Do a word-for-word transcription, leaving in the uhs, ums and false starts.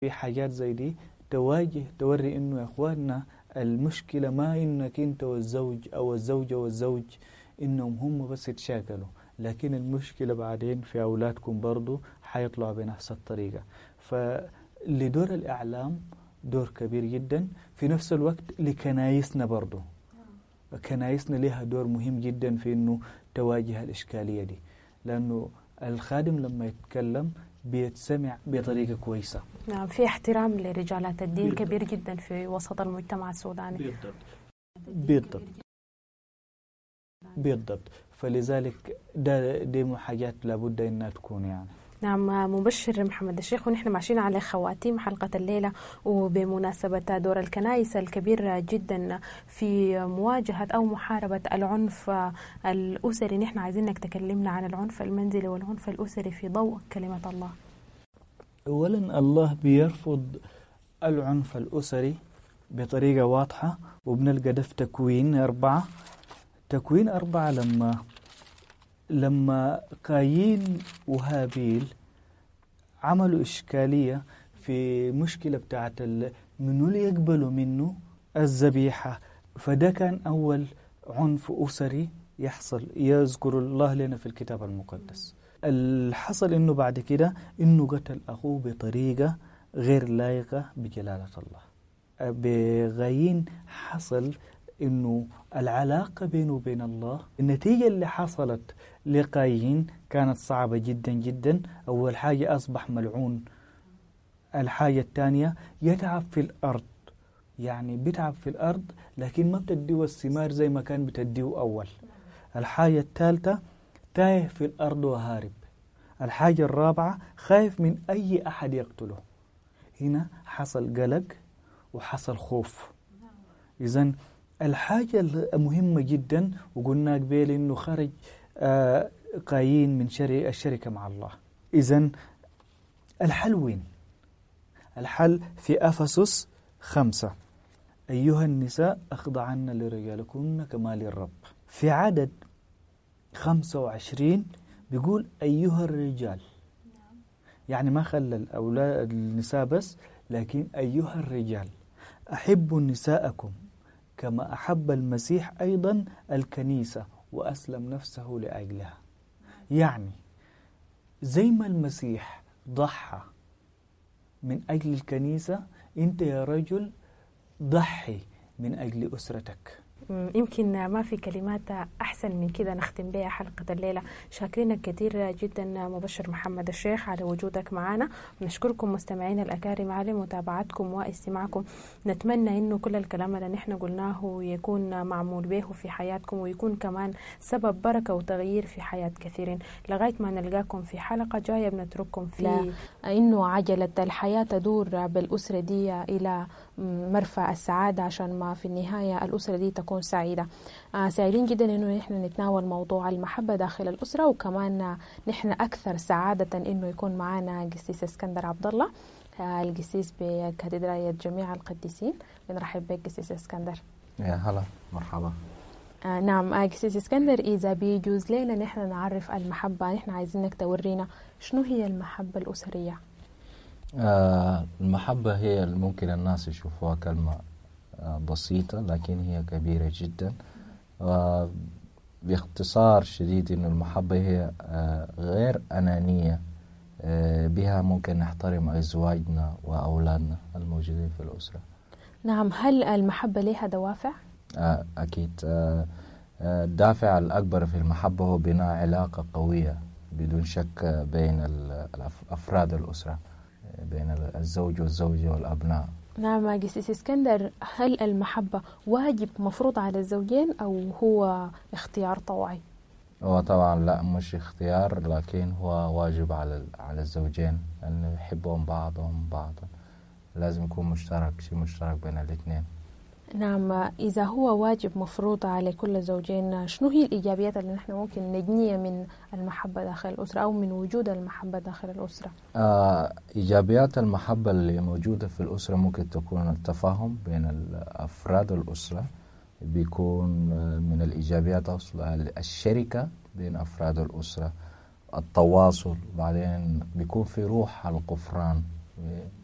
في حاجات زي دي تواجه توري انه يا اخواننا المشكلة ما انك انت والزوج او الزوجة والزوج انهم هم بس يتشاكلوا، لكن المشكلة بعدين في اولادكم برضو حيطلعوا بنفس الطريقة. فلدور الاعلام دور كبير جدا، في نفس الوقت لكنايسنا برضو، كنايسنا لها دور مهم جدا في انه تواجه الاشكالية دي، لانه الخادم لما يتكلم بيتسمع بطريقة كويسة. نعم، في احترام لرجالات الدين بالضبط. كبير جدا في وسط المجتمع السوداني. بالضبط بالضبط بالضبط، فلذلك ده دي حاجات لابد انها تكون يعني. نعم، مبشر محمد الشيخ، ونحن ماشيين على خواتيم حلقة الليلة، وبمناسبة دور الكنائس الكبير جدا في مواجهة أو محاربة العنف الأسري، نحن عايزينك تكلمنا عن العنف المنزلي والعنف الأسري في ضوء كلمة الله. أولا الله بيرفض العنف الأسري بطريقة واضحة، وبنلقى ده في تكوين أربعة. تكوين أربعة لما لما قايين وهابيل عملوا إشكالية في مشكلة بتاعت منو اللي يقبلوا منه الذبيحة، فده كان أول عنف أسري يحصل يذكر الله لنا في الكتاب المقدس. اللي حصل إنه بعد كده إنه قتل أخوه بطريقة غير لائقة بجلالة الله. بغايين حصل إنه العلاقة بينه وبين الله، النتيجة اللي حصلت لقايين كانت صعبة جدا جدا. أول حاجة أصبح ملعون، الحاجة الثانية يتعب في الأرض، يعني بيتعب في الأرض لكن ما بتديه الثمار زي ما كان بتديه أول. الحاجة الثالثة تايه في الأرض وهارب. الحاجة الرابعة خايف من أي أحد يقتله. هنا حصل قلق وحصل خوف. إذن الحاجة المهمة جدا، وقلنا قبل إنه خرج آه قايين من الشركة مع الله. إذن الحل وين؟ الحل في أفسس خمسة: أيها النساء أخضعن لرجالكن كما للرب. في عدد خمسة وعشرين بيقول أيها الرجال، يعني ما خلى الأولاد النساء بس، لكن أيها الرجال أحبوا نساءكم كما أحب المسيح أيضا الكنيسة وأسلم نفسه لأجلها. يعني زي ما المسيح ضحى من أجل الكنيسة، أنت يا رجل ضحي من أجل أسرتك. يمكن ما في كلمات أحسن من كده نختم بها حلقة الليلة. شاكرينك كثير جدا مبشر محمد الشيخ على وجودك معنا، نشكركم مستمعين الأكارم على متابعتكم واستماعكم. نتمنى إنه كل الكلام اللي نحن قلناه يكون معمول به في حياتكم، ويكون كمان سبب بركة وتغيير في حياة كثيرين. لغاية ما نلقاكم في حلقة جاية بنترككم في إنه عجلة الحياة تدور بالأسرة دي إلى مرفأ السعادة، عشان ما في النهاية الأسرة دي تكون سعيدة. آه سعيدين جدا إنه نحن نتناول موضوع المحبة داخل الأسرة، وكمان نحن أكثر سعادة إنه يكون معنا قسيس اسكندر عبد الله، آه القسيس بكاتدرائية جميع القديسين. بنرحب بك قسيس اسكندر. يا هلا، مرحبا. آه نعم آه قسيس اسكندر، إذا بيجوز لنا نحن نعرف المحبة، نحن عايزينك تورينا شنو هي المحبة الأسرية. آه المحبة هي ممكن الناس يشوفوها كلمة بسيطة، لكن هي كبيرة جدا. باختصار شديد إنه المحبة هي غير أنانية، بها ممكن نحترم أزواجنا وأولادنا الموجودين في الأسرة. نعم، هل المحبة لها دوافع؟ أكيد. الدافع الأكبر في المحبة هو بناء علاقة قوية بدون شك بين أفراد الأسرة، بين الزوج والزوجة والأبناء. نعم قسيس اسكندر، هل المحبة واجب مفروض على الزوجين أو هو اختيار طوعي؟ هو طبعا لا، مش اختيار، لكن هو واجب على على الزوجين أن يحبهم بعضهم بعضا. لازم يكون مشترك، شيء مشترك بين الاثنين. نعم، إذا هو واجب مفروض على كل الزوجين، شنو هي الإيجابيات اللي نحن ممكن نجنيها من المحبة داخل الأسرة أو من وجود المحبة داخل الأسرة؟ آه، إيجابيات المحبة اللي موجودة في الأسرة ممكن تكون التفاهم بين أفراد الأسرة، بيكون من الإيجابيات أصلا الشركة بين أفراد الأسرة، التواصل، بعدين بيكون في روح الغفران.